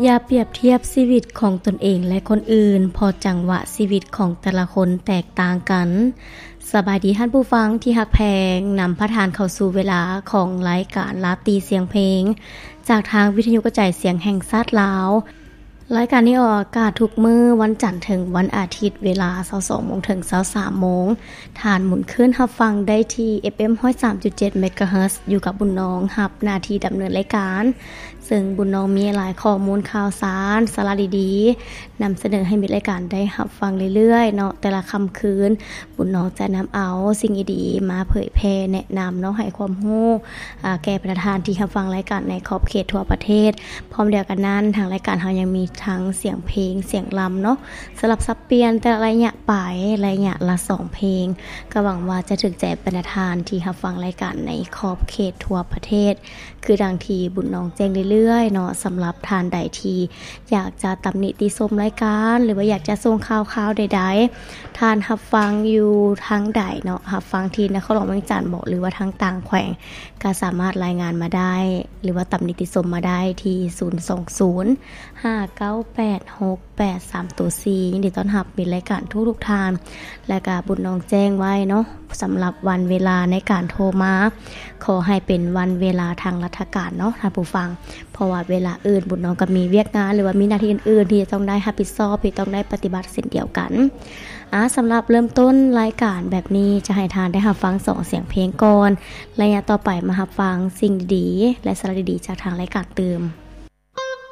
ຢ່າປຽບທຽບຊີວິດຂອງຕົນເອງ ແລະ ຄົນອື່ນ ເພາະຈັງຫວະຊີວິດຂອງແຕ່ລະຄົນແຕກຕ່າງກັນ. ສະບາຍດີທ່ານຜູ້ຟັງທີ່ຮັກແພງ, ນຳພາທ່ານເຂົ້າສູ່ເວລາຂອງລາຍການລາຕີສຽງເພງ ຈາກທາງວິທະຍຸກະຈາຍສຽງແຫ່ງຊາດລາວ. ລາຍການນີ້ອອກອາກາດທຸກມື້ວັນຈັນເຖິງວັນອາທິດ ເວລາຊາວສອງໂມງເຖິງຊາວສາມໂມງ. ທ່ານໝູນຄື້ນຮັບຟັງໄດ້ທີ່ ເອັຟເອັມຮ້ອຍສາມຈຸດເຈັດເມກາເຮີດ ຢູ່ກັບບຸນນອງຮັບໜ້າທີ່ດຳເນີນລາຍການ, ເຊິ່ງບຸນນອງມີຫຼາຍຂໍ້ມູນຂ່າວສານ ສາລະດີໆ ນຳສະເໜີໃຫ້ມິດລາຍການໄດ້ຮັບຟັງເລື້ອຍໆເນາະ. ແຕ່ລະຄ່ຳຄືນ ບຸນນອງຈະນຳເອົາສິ່ງດີໆມາເຜີຍແຜ່ແນະນຳເນາະ, ໃຫ້ຄວາມຮູ້ ອາ ແກ່ບັນດາທ່ານທີ່ຮັບຟັງລາຍການໃນຂອບເຂດທົ່ວປະເທດ. ພ້ອມດຽວກັນນັ້ນ ທາງລາຍການເຮົາຍັງມີທັງສຽງເພງ, ສຽງລຳເນາະ, ສະຫຼັບສັບປ່ຽນແຕ່ລະໄລຍະໄປ, ໄລຍະລະສອງເພງ. ກໍຫວັງວ່າຈະຖືກໃຈບັນດາທ່ານທີ່ຮັບຟັງລາຍການໃນຂອບເຂດທົ່ວປະເທດ. ຄືດັ່ງທີ່ບຸນນອງແຈ້ງເລື້ອຍໆເນາະ, ສຳລັບທ່ານໃດທີ່ຢາກຈະຕຳໜິຕິຊົມລາຍການ ຫຼືວ່າຢາກຈະສົ່ງຂ່າວຄາວໃດໆ, ທ່ານຮັບຟັງຢູ່ທາງໃດເນາະ, ຮັບຟັງທີ່ນະຄອນຫຼວງວຽງຈັນບໍ ຫຼືວ່າທາງຕ່າງແຂວງ, ກໍສາມາດລາຍງານມາໄດ້ ຫຼືວ່າຕຳໜິຕິຊົມມາໄດ້ທີ່ ສູນສອງສູນ ຫ້າເກົ້າແປດ ຫົກແປດສາມໂຕສີ່. ຍິນດີຕ້ອນຮັບມິດລາຍການທຸກໆທ່ານ. ແລະກະບຸນນອງແຈ້ງໄວ້ເນາະ, ສຳລັບວັນເວລາໃນການໂທມາ ຂໍໃຫ້ເປັນວັນເວລາທາງລັດຖະການເນາະທ່ານຜູ້ຟັງ, ເພາະວ່າເວລາອື່ນບຸນນອງກໍມີວຽກງານ ຫຼືວ່າມີໜ້າທີ່ອື່ນໆທີ່ຈະຕ້ອງໄດ້ຮັບຜິດຊອບ, ທີ່ຕ້ອງໄດ້ປະຕິບັດເຊັ່ນດຽວກັນ. ອາ ສຳລັບເລີ່ມຕົ້ນລາຍການແບບນີ້ ຈະໃຫ້ທ່ານໄດ້ຮັບຟັງສອງສຽງເພງກ່ອນ. ໄລຍະຕໍ່ໄປມາຮັບຟັງສິ່ງດີໆ ແລະ ສາລະດີໆຈາກທາງລາຍການຕື່ມ.